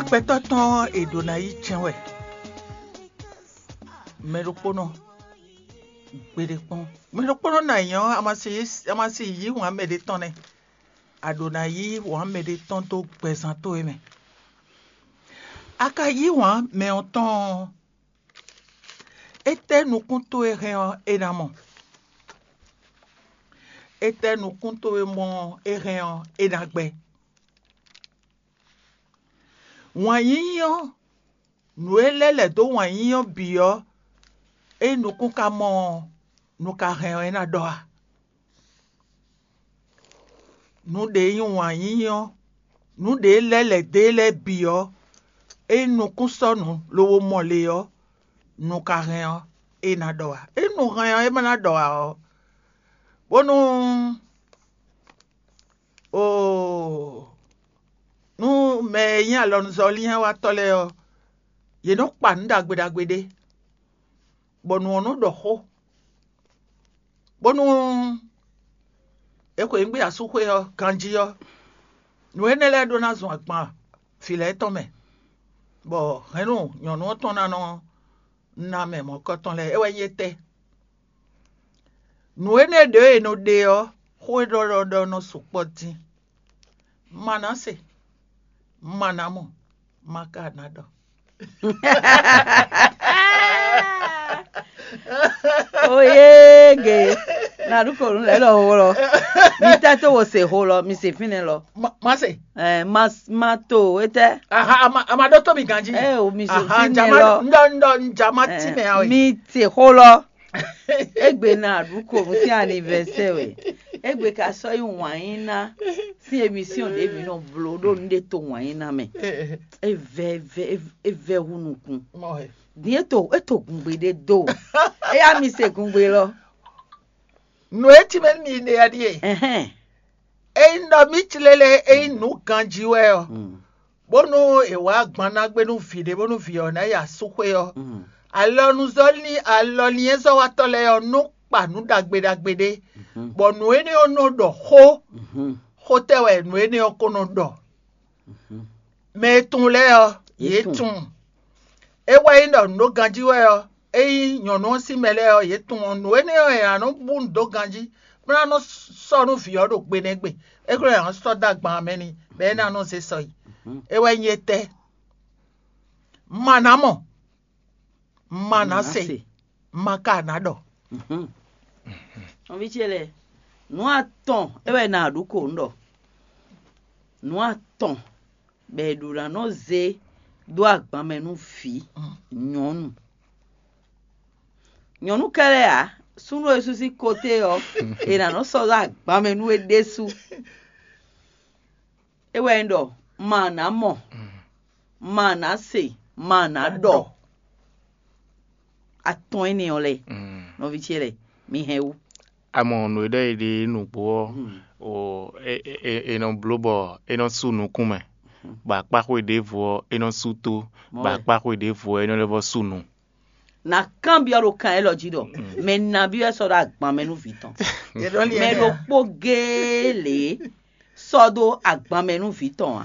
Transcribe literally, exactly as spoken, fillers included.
Gbɛtɔ́ tɔn ɔ́, è ɖǒ ná yí jɛ́n wɛ. Mɛ ɖokpónɔ, gbeɖé kpɔ́n. Mɛ ɖokpónɔ ná nyí ɔ́, a ma si yí, a ma si yí wǎn mɛ ɖé tɔn nɛ́. A ɖǒ ná yí wǎn mɛ ɖé tɔn dó gbɛzán towe mɛ. A ka yí wǎn mɛ ɔ́ tɔn ɔ́, étɛ́ nukún towe hɛn ɔ́, é ná mɔ? Étɛ́ nukún towe mɔ ɔ́, é hɛn ɔ́, é ná gbɛ́? Wǎn yíyí ɔ́, nǔ e lɛ́ lɛ̌ dó wǎn yíyí ɔ́ bǐ ɔ́, ényí nukún ka mɔ ɔ́, nu ka hɛn ɔ́, é ná ɖɔ a? Nǔ ɖě nyí wǎn yíyí ɔ́, nǔ ɖě lɛ́ lɛ̌ dó e lɛ́ɛ bǐ ɔ́, ényí nukún sɔ́ nǔ lobo mɔ le ɔ́, nu ka hɛn ɔ́, é ná ɖɔ ǎ. Ényí nu hɛn ɔ́, é ma ná ɖɔ ǎ ɔ́, bónú oo, nú mɛ e nyí alɔnuzɔ́línyáwatɔ́ lɛ́ɛ ɔ́, yě nɔ́ kpa nǔ ɖagbe ɖagbe ɖé, bɔ nǔ ɔ́ nɔ́ ɖɔ xó, bónú è xweyǐgbe asúxwé ɔ́ ganjí ɔ́, nǔ énɛ́ lɛ́ɛ ɖó ná zun agban vǐ lɛ́ɛ tɔn mɛ, bɔ hɛ̌nnu nyɔ̌nu ɔ́ tɔn ná nɔ ná mɛ mɔ̌kɔtɔn lɛ́ɛ. É wɛ nyí étɛ́? Nǔ énɛ́ ɖě e è nɔ ɖe ɔ́, xó e ɖɔ ɖɔ ɖɔ nɔ sukpɔ́ dín. Ma ná se, ma ná mɔ, ma ka ná ɖɔ. Oyége, na ɖu konu lɛ lɔ wlɔ. Mi tɛ to wo se ho lɔ, mi se fínɛ lɔ. Ma se. Ɛ, ma ma to etɛ. Aha, ama ama ɖɔ to mi ganji. Ɛ o mi se fínɛ lɔ. Ndɔ ndɔ nja ma ti mɛ awe. Mi se ho lɔ. Egbe na ɖu konu sín anivɛsɛ wɛ. Egbe ka sɔ yi wǎn yí ná sín emisiyɔn ɖě mi nɔ blo ɖo nu ɖe to wǎn yí ná mɛ. Evɛ evɛ evɛ hu nukun. Din eto eto gungbe ɖé do. Eya mi se gungbe lɔ. Nǔ e cí mɛ nú mi ɖe ɔ́ ɖíe: Ényí ɖɔ mǐ clé lɛ́ɛ é nyí nǔ ganjí wɛ ɔ́, bónú è wǎ agban ná gbé nú vǐ ɖé bónú vǐ ɔ́ ná yi asúxwé ɔ́, alɔnuzɔ́lín alɔlinyɛ́zɔ́watɔ́ lɛ́ɛ ɔ́ nɔ kpa nǔ ɖagbe ɖagbe ɖé, bɔ nǔ énɛ́ ɔ́ nɔ ɖɔ xó, xó tɛ́ wɛ nǔ énɛ́ ɔ́ ko nɔ ɖɔ. Mɛ e tunwun lɛ́ɛ ɔ́, yě tunwun. É wɛ nyí ɖɔ nǔ ɖó ganjí wɛ ɔ́, ényí nyɔ̌nu ɔ́ sín mɛ lɛ́ɛ ɔ́, yě tunwun ɔ́, nǔ énɛ́ ɔ́, è nǎ nɔ bú nǔ dó ganjí, bó ná nɔ sɔ́ nú vǐ ɔ́ ɖo gbe nɛ́ gbe. É glɔ́ è nǎ sɔ́ dó agban ɔ́ mɛ n'i, bɔ é ná nɔ zé sɔ yi. É wɛ nyí étɛ́? Ma ná mɔ, ma ná se, ma ka ná ɖɔ. Nɔví ce lɛ́ɛ, nǔ atɔn é wɛ è nǎ ɖu ko un ɖɔ. Nǔ atɔn bɔ è ɖǒ ná nɔ zé dó agban mɛ nú vǐ nyɔ̌nu. Nyɔ̌nu kɛ́ɖɛ́ ǎ, súnnu e sú sín koté ɔ́, è nǎ nɔ sɔ́ dó agban mɛ nú é ɖésú. É wɛ nyí ɖɔ ma nǎ mɔ, ma nǎ se, ma nǎ ɖɔ. Atɔn énɛ́ ɔ́ lɛ́ɛ, nɔví ce lɛ́ɛ, mi hɛn wú. A mɔ nǔ e ɖɔ è ɖe nǔgbó ɔ́, o, è nɔ bló bɔ é nɔ sú nukún mɛ, bɔ akpáxwé ɖěvo ɔ́, é nɔ sú tó, bɔ akpáxwé ɖěvo ɔ́, é nɔ lɛ́ vɔ́ sú nu. Na kanbyɔ́ ɖo kan élɔ́ jí ɖɔ mɛ nabí wɛ sɔ́ ɖo agban mɛ nú vǐ tɔn? Mɛ ɖokpó géé lě sɔ́ ɖó agban mɛ nú vǐ tɔn ǎ.